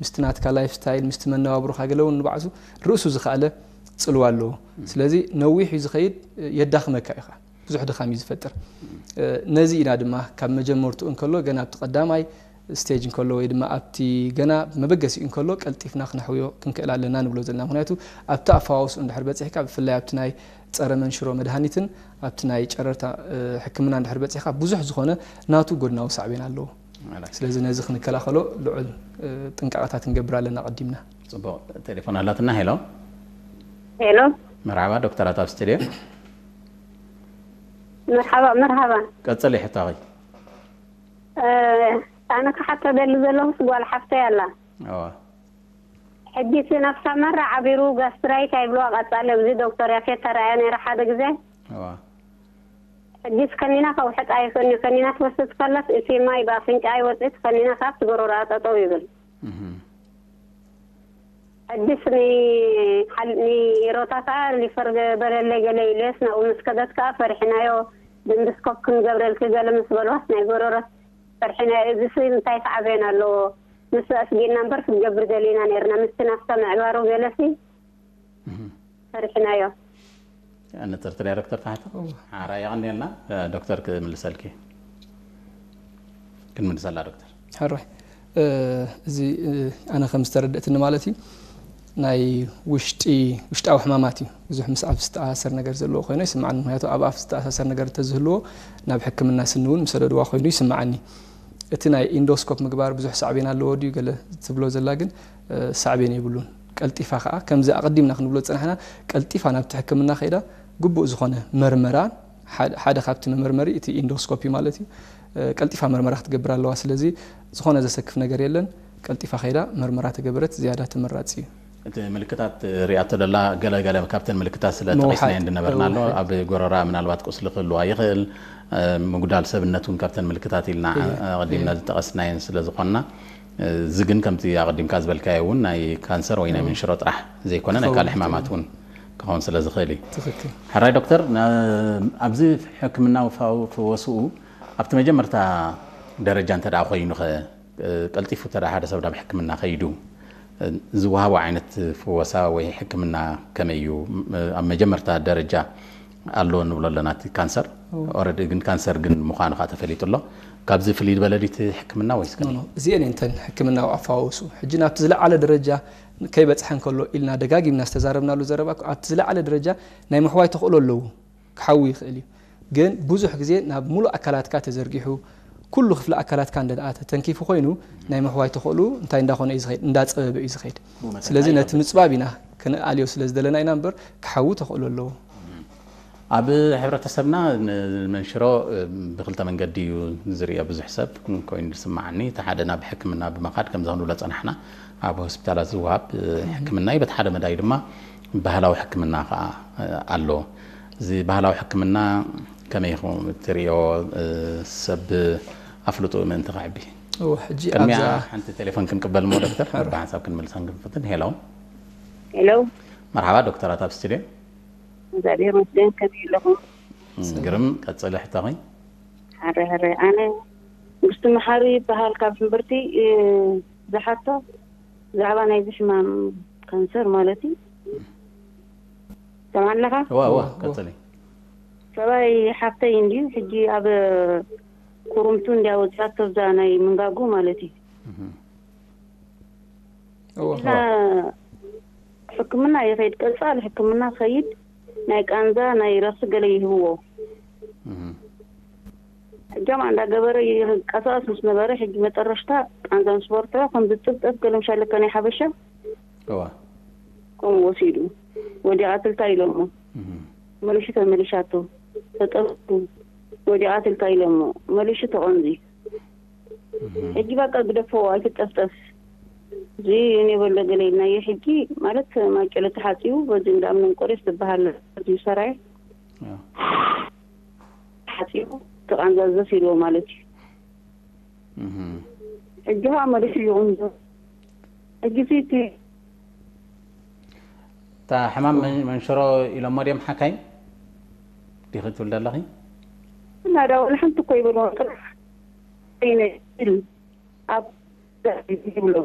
ምስቲ ናትካ ላይፍ ስታይል፣ ምስቲ መነባብሮኻ ገለ እውን ንባዕሱ ርእሱ ዝኸኣለ ጽልዋ ኣለዎ። ስለዚ ነዊሕ እዩ ዝኸይድ፣ የዳኽመካ ኢኻ። ብዙሕ ድኻም እዩ ዝፈጥር። ነዚ ኢና ድማ ካብ መጀመርትኡ እንከሎ፣ ገና ኣብቲ ቀዳማይ ስቴጅ እንከሎ ወይ ድማ ኣብቲ ገና መበገሲኡ እንከሎ ቀልጢፍና ክነሕውዮ ክንክእል ኣለና ንብሎ ዘለና። ምኽንያቱ ኣብቲ ኣፈዋውስኡ እንድሕር በጺሕካ፣ ብፍላይ ኣብቲ ናይ ጸረ መንሽሮ መድሃኒትን ኣብቲ ናይ ጨረርታ ሕክምና እንድሕር በጺሕካ፣ ብዙሕ ዝኾነ ናቱ ጎድናዊ ሳዕቤን ኣለዎ። ስለዚ ነዚ ክንከላኸሎ ልዑል ጥንቃቐታት ክንገብር ኣለና ቀዲምና። ጽቡቕ። ቴሌፎን ኣላትና። ሄሎ። ሄሎ። መርሓባ ዶክተራት ኣብ ስቱድዮ። መርሓባ መርሓባ። ቀጽሊ ሕቶኺ። ኣነ ክሓቶ ደሊ ዘለኹስ ጓል ሓፍተይ ኣላ። ሕጂ እቲ ነፍሳ መራ ዓቢሩ ጋስትራይት ኣይብልዋ ቀጻሊ ኣብዚ ዶክተር ያፌት ተራእያ ነይራ ሓደ ግዜ። ሕጂስ ከኒና ከውሕጥ ኣይኽእልኒ። ከኒና ትወስድ ከላስ እቲ ማይ ብኣፍንጫ ኣይወፅእ ከኒና ካብ ትጎረራ ጠጠው ይብል። ሕጂስ ንሮታ ከዓ ሪፈር በለለይ ገለ ኢሉስ ናብኡ ምስ ከደት ከዓ ፈሪሕናዮ። ብእንድስኮፕ ክንገብረልኪ ገለ ምስ በልዋስ ናይ ጎረሮ ፈሪሕናዮ። እዚሲ እንታይ ሳዕቤን ኣለዎ? ንሱ ኣስጊእና እምበር ክንገብር ደሊና ነርና። ምስቲ ናፍታ ምዕባሩ ገለሲ ፈሪሕናዮ። ንፅርቲ ዳይረክተር ተሓተ ሓራ የቐንየልና። ዶክተር ክምልሰልኪ ክንምልሰላ ዶክተር። ሕራይ እዚ ኣነ ከም ዝተረድእትኒ ማለት እዩ ናይ ውሽጢ ውሽጣዊ ሕማማት እዩ። ብዙሕ ምስ ኣፍ ዝተኣሳሰር ነገር ዘለዎ ኮይኑ ይስምዓኒ። ምክንያቱ ኣብ ኣፍ ዝተኣሳሰር ነገር እንተዝህልዎ ናብ ሕክምና ስኒ እውን ምሰደድዋ ኮይኑ ይስምዓኒ። እቲ ናይ ኢንዶስኮፕ ምግባር ብዙሕ ሳዕቤን ኣለዎ ድዩ ገለ ትብሎ ዘላ ግን ሳዕቤን የብሉን። ቀልጢፋ ከዓ ከምዚ ኣቐዲምና ክንብሎ ዝፀናሕና ቀልጢፋ ናብቲ ሕክምና ከይዳ ግቡእ ዝኾነ መርመራ ሓደ ካብቲ መመርመሪ እቲ ኢንዶስኮፒ ማለት እዩ። ቀልጢፋ መርመራ ክትገብር ኣለዋ። ስለዚ ዝኾነ ዘሰክፍ ነገር የለን። ቀልጢፋ ከይዳ መርመራ ተገበረት ዝያዳ ተመራፂ እዩ። እቲ ምልክታት ሪኣቶ ደላ ገለ ገለ ካብተን ምልክታት ስለ ጠቂስናየን ዝነበርና ኣሎ። ኣብ ጎረራ ምናልባት ቁስሊ ክህልዋ ይኽእል፣ ምጉዳል ሰብነት እውን ካብተን ምልክታት ኢልና ኣቐዲምና ዝጠቀስናየን ስለ ዝኾንና፣ እዚ ግን ከምቲ ኣቐዲምካ ዝበልካዮ እውን ናይ ካንሰር ወይ ናይ መንሽሮ ጥራሕ ዘይኮነ ናይ ካልእ ሕማማት እውን ክኸውን ስለ ዝኽእል እዩ። ሕራይ ዶክተር፣ ኣብዚ ሕክምናዊ ፈወስኡ ኣብቲ መጀመርታ ደረጃ እንተ ደኣ ኮይኑኸ ቀልጢፉ እንተ ሓደ ሰብ ናብ ሕክምና ከይዱ ዝወሃቦ ዓይነት ፍወሳ ወይ ሕክምና ከመይ እዩ? ኣብ መጀመርታ ደረጃ ኣሎ ንብሎ ኣለና እቲ ካንሰር ኦረዲ ግን ካንሰር ግን ምዃኑ ከዓ ተፈሊጡ ኣሎ። ካብዚ ፍልይ ዝበለ ድዩ እቲ ሕክምና ወይስ ከመይ? እዚአን እየን እተን ሕክምናዊ ኣፈዋውሱ። ሕጂ ናብቲ ዝለዓለ ደረጃ ከይበፅሐ እንከሎ ኢልና ደጋጊምና ዝተዛረብናሉ ዘረባ እኮ ኣብቲ ዝለዓለ ደረጃ ናይ ምሕዋይ ተኽእሎ ኣለዎ። ክሓዊ ይኽእል እዩ። ግን ብዙሕ ግዜ ናብ ሙሉእ ኣካላትካ ተዘርጊሑ ኩሉ ክፍሊ ኣካላትካ እንደ ደኣ ተተንኪፉ ኮይኑ ናይ ምሕዋይ ተኽእሉ እንታይ እንዳኾነ እዩ ዝኸይድ እንዳፀበበ እዩ ዝኸይድ። ስለዚ ነቲ ምፅባብ ኢና ክንኣልዮ ስለ ዝደለና ኢና እምበር ክሓዊ ተኽእሎ ኣለዎ። ኣብ ሕብረተሰብና ንመንሽሮ ብክልተ መንገዲ እዩ ዝሪኦ ብዙሕ ሰብ ኮይኑ ዝስማዓኒ። እቲ ሓደ ናብ ሕክምና ብምኻድ ከምዚ ክንብሎ ፀናሕና ኣብ ሆስፒታላት ዝወሃብ ሕክምና እዩ። በቲ ሓደ መዳይ ድማ ባህላዊ ሕክምና ከዓ ኣሎ። እዚ ባህላዊ ሕክምና ከመይ ኢኹም እትሪኦ? ሰብ ኣፍልጦ ምእንቲ ከዕቢ። እወ፣ ሕጂ ቅድሚያ ኣብዛ ሓንቲ ቴሌፎን ክንቅበል እሞ ዶክተር ሕራይ። ብሓንሳብ ክንምልሰን ክንፍትን። ሄሎ። ሄሎ። መርሓባ ዶክተራት ኣብ ስቱድዮ። እግዚኣብሔር ይመስገን፣ ከመይ ኣለኹም? ግርም፣ ቀጽሊ ሕቶኺ። ሕራይ ሕራይ። ኣነ መንግስቱ መሓሪ ይበሃል፣ ካብ ሕምብርቲ። ዝሓቶ ብዛዕባ ናይዚ ሕማም ካንሰር ማለት እዩ። ሰማዕለኻ? እዋ እዋ፣ ቀጽሊ። ሰብኣይ ሓፍተይ እንድዩ ሕጂ ኣብ ኩርምቱ እንድያ ወፂኣቶ፣ እዛ ናይ ምንጋጉ ማለት እዩ። እና ሕክምና ይኸይድ፣ ቀፃሊ ሕክምና ኸይድ፣ ናይ ቃንዛ ናይ ረኽሲ ገለ ይህብዎ። ሕጃማ እንዳገበረ ይንቀሳቀስ ምስ ነበረ፣ ሕጂ መጠረሽታ ቃንዛ ምስ በርትዖ፣ ከምዚ ጥብጠብ ገለ ምሻለካ ናይ ሓበሻ እዋ። ከምኡ ወሲዱ፣ ወዲቓትልካ ኢሎሞ። መሊሹ ተመሊሻቶ፣ ተጠብኩ፣ ወዲቓትልካ ኢሎሞ፣ መሊሹ ተቐንዚ። ሕጂ በቃ ግደፎ፣ ኣይትጠፍጠፍ። እዚ እኔ በሎ ገለ ኢልናዮ። ሕጂ ማለት ማጨሎ ተሓጺቡ፣ በዚ እንዳ እምነ እንቆርዮስ ዝበሃል እዩ ሰራየ። ተሓጺቡ፣ ተቓንዛዘስ ኢልዎ ማለት እዩ። ሕጂ ኸዓ መሊሱ ይቕንዞ። ሕጂ እቲ እታ ሕማም መን- መንሽሮ ኢሎሞ ድዮም ሓካይም? ዲኺ ትብል ዘለኺ? እና ዳ ወላ ሓንቲ እኮ ይበልዎ ጥራሕ። ይነ- ይብል። ኣብ ይብሎ።